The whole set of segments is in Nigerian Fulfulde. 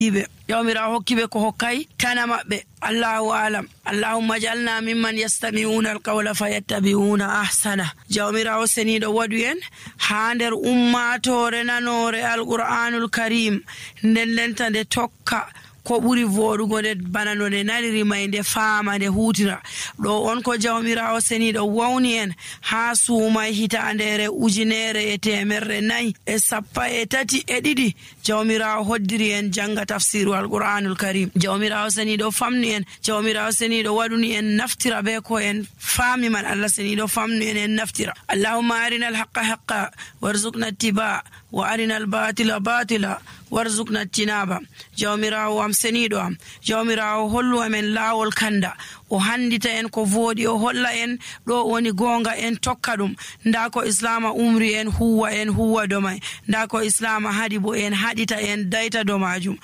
ibe jawmirawo hokkibe ko hokkay tana mabbe. Allahu alam. Allahumma jalna mimman yastami'una alqawla fayattabi'una ahsana. jawmirawo senido wadu en ha nder ummatore nanore alqur'anul karim nden tande tokka ko ɓuri voɗugo nde bana no nde nariri may nde faama nde hutira. ɗo on ko jawmirawo seniɗo wawni en ha suumay hitandere 1432 jawmirawo hoddiri en janga tafsiru alqur'anul karim. jawmirawo seniɗo famni en, jawmirawo seniɗo waɗuni en naftira be ko en faami man. Allah seniɗo famni en naftira. Allahumma arina alhaqqa haqqa warzuqna ittiba wa arina albatila batila warzuqna tinaba. jawmirawo am seniɗo am, jawmirawo hollu amen laawol kanda, o handita en ko voodi, o holla en ɗo woni gonga, en tokka ɗum. nda ko islama umri en huwa do may, nda ko islama hadi bo en hadita en dayta do majum.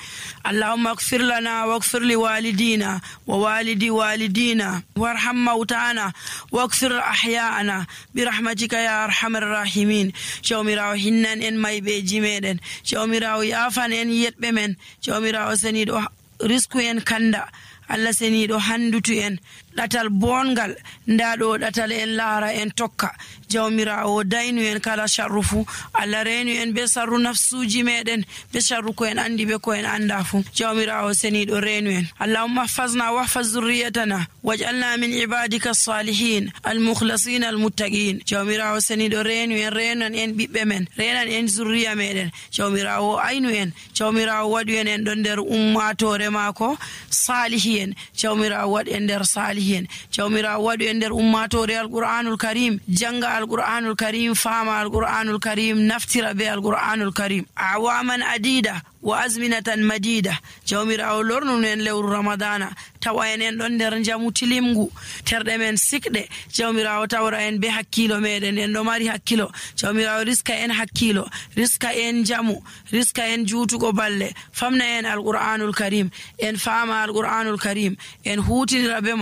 Allahumma ighfir lana waghfir li walidina wa walidi walidina warham mautana waghfir ahya'ana birahmatika ya arhamar rahimin. jawmirawo hinnan en maybeji meɗen, jawmirawo yafan en yetɓe men, jawmirawo seniɗo risku en kanda, Allah seniɗo handutu en ɗatal bongal, nda ɗo ɗatal en laara en tokka. jawmirawo daynu en kala sharru fu, Allah renu en be sharru nafsuji meɗen, be sharru ko en andi be ko en anda fu. jawmirawo seniɗo renu en. Allahumma ihfazna wahfaz zurriyatana waj'alna min ibadika as-salihin al-mukhlasin al-muttaqin. jawmirawo seniɗo renu en, renan en ɓiɓɓe men, renan en zurriya meɗen. jawmirawo aynu en, jawmirawo waɗu en ɗon nder ummatore maako salihin, jawmirawo waɗu en nder salihin, jawmirawo waɗu en nder ummatore alqur'anul karim, janga alqur'anul karim, fama alqur'anul karim, naftira be alqur'anul karim awaman adida wa azminatan madida. jawmirawo lornu en lewru ramadana, tawa en ɗon nder jamu tilimgu, terɗe men sikɗe. jawmirawo tawra en be hakkilo meɗen, en ɗo mari hakkilo. jawmirawo riska en hakkilo, riska en jamu, riska en juutugo balle, famna en alqur'anul karim, en fama alqur'anul karim, en hutinira be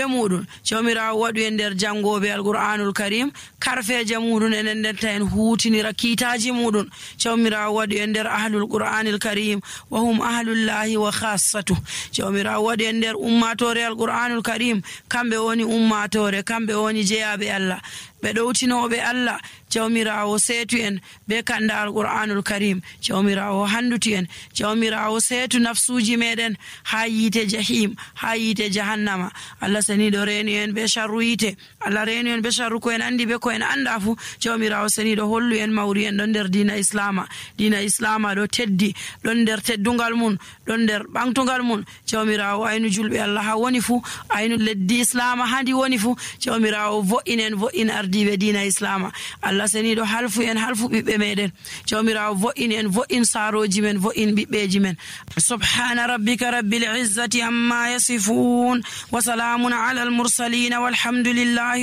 muɗum. jawmirawo waɗu en nder jangoɓe alqur'anul karim, karfeje muɗum enen ndenta en hutinira kiitaji muɗum. jawmirawo waɗu en nder ahlul qur'anil karim wa hum ahlullahi wa khassatu. jawmirawo waɗu en nder ummatore alqur'anul karim, kamɓe woni ummatore, kamɓe woni jeyaɓe Allah, ɓe ɗowtinoɓe Allah. jawmirawo seetu en be kanda alqur'anul karim, jawmirawo handutu en, jawmirawo seetu nafsuji meɗen ha yite jahim, ha yite jahannama. Allah seniɗo renu en be sharru yite, Allah renu en be sharru ko en andi be ko en anda fu. jawmirawo seniɗo hollu en mawri en ɗon nder dina islama, dina islama ɗo teddi, ɗon nder teddungal mun, ɗon nder ɓamtugal mun. jawmirawo aynu julɓe Allah ha woni fu, aynu leddi islama handi woni fu. jawmirawo vo'in ardiɓe dina islama. Allah seniɗo halfu en, halfu ɓiɓɓe meɗen. jawmirawo vo'in en, vo'in saroji men, vo'in ɓiɓɓeji men. subhana rabbika rabbil izzati amma yasifun wa salamun ala al mursalin walhamdulillahi